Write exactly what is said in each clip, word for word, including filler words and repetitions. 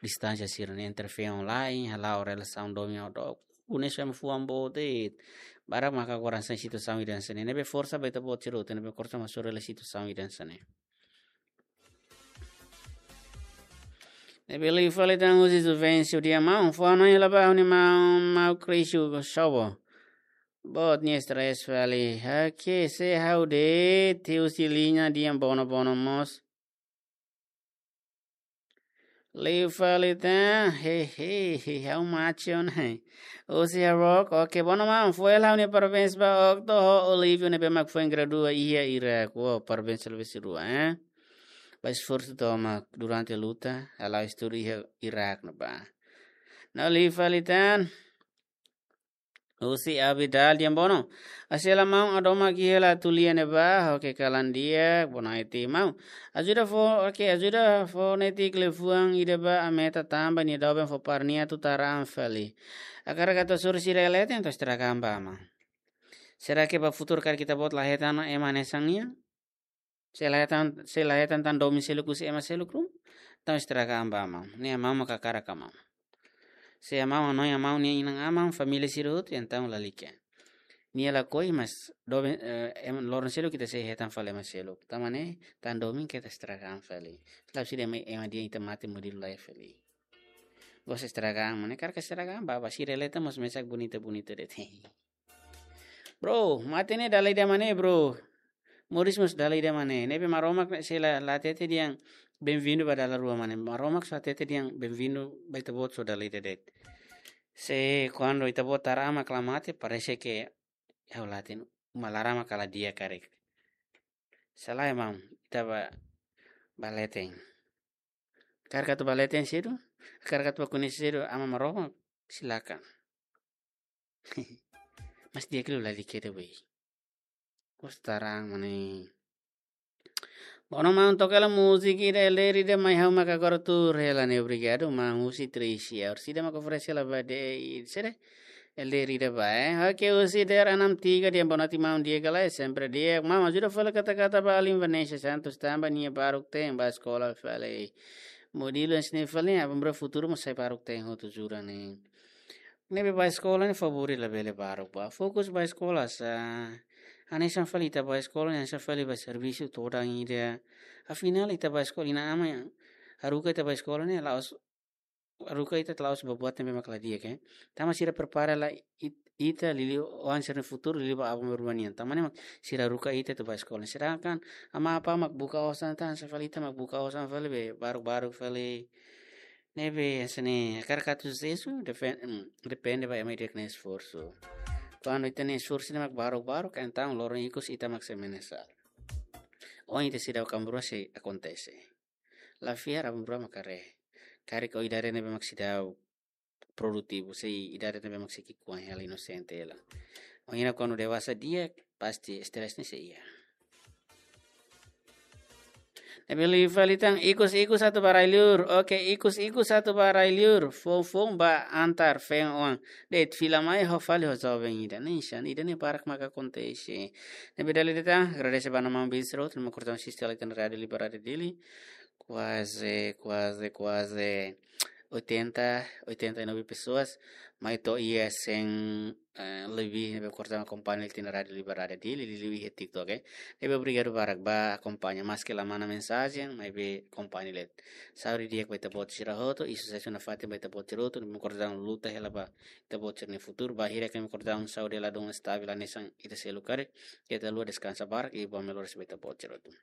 distánsia sira-ne'e entre feen ho la'en, hala'o relasaun domin ho dook. Unes fem fuan boot de'it. Barak maka agora sai situasaun ida hanesan ne'e. Ne'ebé forsa ba ita-boot sira hotu, ne'ebé forsa mós soru hela situasaun ida hanesan ne'e. Ne'ebé liu fali tan husi Juvencio Diamão, fó-hanoin hela ba ha'u-nia maun, maun Crisio Shobo. Boot nia stress fali. Oke, se ha'u de'it, husi liña Diambono Bono mós. Liu fali tan, he, he, he, ha'u macho ona. Husi Harok, oke, Bono maun, fó hela ha'u-nia parabéns ba Octo ho Olivio ne'ebé mak foin gradua iha Irak. Wow, parabéns selebes rua, eh. Ba esforsu tomak durante luta, hala'o estudu iha Irak ne'ebá. No liu fali tan, husi Abidal Diambono. Hase'e hela maun, ha'u hadomi hela atu lia ne'ebá, oke kalan di'ak, bonaiti maun. Ajuda fó, oke, ajuda fó netik liafuan ida ba Ameta tanba nia doben fó para nia atu tara an fali. Hakarak atu hasoru sira iha leten, entaun estraga an ba maun. Será que ba futuru karik ita-boot la hetan ema hanesan nia? Se la hetan, se la hetan tan domin seluk husi ema seluk ruma, entaun estraga an ba maun. Ne'e maun maka hakarak ka maun. Se maun hanoin maun nia inan-aman, família sira hotu, entaun lalika. Nia lakohi, mas doben, eh, ema loron seluk ita sei hetan fali ema seluk. Tanba ne'e, tan domin keta estraga an fali. La'ós ida ema, ema dehan ita mate modelu laiha fali. Gosta estraga an, maun ne'e hakarak estraga an ba, ba sira iha leten mós mesak bonita-bonita de'it. Bro, mate ne'e dala ida mak ne'e, bro. Moris mós dala ida mak ne'e. Ne'ebé Maromak ne'e sei la, la hatete dehan bem-vindo ba dala rua mak ne'e. Maromak só hatete dehan bem-vindo ba ita-boot só dala ida de'it. Se kuandu ita-boot tara an mak la mate, parese ke ha'u la hatene, uma laran mak la di'ak karik. Sala emang, ita ba, ba leten. Hakarak atu ba leten sedu, hakarak atu ba koñese sedu Aman Maromak, silakan. Mas di'ak liu lalika de'it, wei. Gosta tara an mak ne'e. Bono maun, toka hela múzika ida, elder ida, mai ha'u maka agora tuur hela ne'e, obrigadu maun. Husi Tricia, orsida maka oferese hela ba de'it, sede, elder ida ba, eh. Oke, husi Der Anam Tiga, dehan bonaiti maun, di'ak ka lae, sempre di'ak. Maun, ajuda fali kata-kata ba alin Vanessa Santos tanba nia baruk-teen bá eskola fali. Modelu hanesan ne'e fali, aban-bainrua futuru mós sai baruk-teen hotu jura ne'e. Ne'ebé bá eskola ne'e favór labele baruk bá. Fokus bá eskola sá. Hanesan fali ita bá eskola ne'e hanesan fali bá servisu todan ida. Afinál ita bá eskola, inan-aman haruka ita bá eskola ne'e la'ós, haruka ita la'ós ba buat ne'ebé mak la di'ak, eh. Tanba sira prepara hela it-, ita liuliu oan sira-nia futuru, liuliu ba aban-bainrua nian. Tanba ne'e mak sira haruka ita atu bá eskola. Sedangkan aman-aman mak buka osan tan, hanesan fali ita mak buka osan fali be, baruk-baruk fali. Ne'ebé hanesan ne'e, hakarak atu susesu, defen-, mm, depende ba ema ida-idak nia esforsu. Kuandu ita-nia esforsu ne'e mak baruk-baruk, entaun loron ikus ita mak sei menyesal. Ohin ita seidauk aban-bainrua sei akontese. La fiar aban-bainrua mak haree. Karik ó idade ne'ebé mak seidauk produtivu, sei idade ne'ebé mak sei ki'ikoan hela, inosente hela. Ohin kuandu dewasa di'ak, pasti stress ne'e sei iha. Ne'ebé liu fali tan, ikus-ikus atu ba rai-liur. Oke, ikus-ikus atu ba rai-liur. Foun-foun ba antar feen-oan. De'it fila mai ho fali ho joven ida. Ne'e hanesan ida-ne'e barak maka akontese. Ne'ebé dala ida tan, agradese ba maun Bisro, terima kasih sistema Rádio Liberdade Dili. Kuaze, kuaze, kuaze oitenta, oitenta e nove pessoas, mai to'o iha cem, eh, lebih ne'ebé korta akompaña hela tiha ona Rádio Liberdade Dili, liuliu iha TikTok, eh. Ne'ebé obrigadu barak ba akompaña, maske la manda mensajen, maibé akompaña hela. Saúde di'ak ba ita-boot sira hotu, i susesu nafatin ba ita-boot sira hotu, ne'ebé korta luta hela ba ita-boot sira-nia futuru, ba hira ke ne'ebé korta saúde ladún estavel hanesan ita seluk karik, ita haluha deskansa barak, i buat melhores ba ita-boot sira hotu.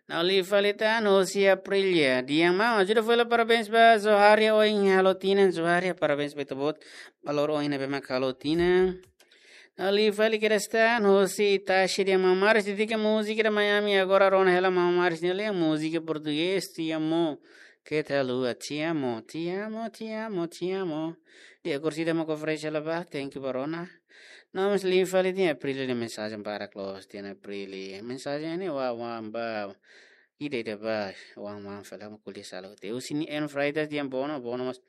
No liu fali tan, husi Aprilia. Dehan maun, ajuda fó hela parabéns ba Zoharia ohin halo tinan, Zoharia, parabéns ba ita-boot. Ba loron ohin ne'ebé mak halo tinan. No liu fali kedas tan, husi Itachi, dehan maun Maris, dedika múzika ida mai ami, agora rona hela maun Maris nia lian, múzika portugés, Te Amo. Keta haluha, te amo, te amo, te amo, te amo. Di'ak, orsida mak oferese hela ba, thank you ba rona. No, mas liu fali tiha Aprilia nia mensajen barak loos, tiha ona Aprilia. Mensajen ne'e oan-oan ba. Ida-ida ba, oan-oan fali, ha'u mak ko'alia sala hotu. Husi N Freitas, dehan Bono, Bono mas.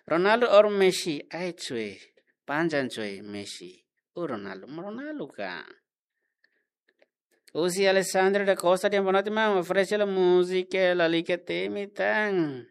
Ronaldo or Messi, ai coe. Panjang coe, Messi. O Ronaldo, Ronaldo ka. Husi Alessandra da Costa, dehan bonaiti maun, oferese hela múzika lalika temi tan.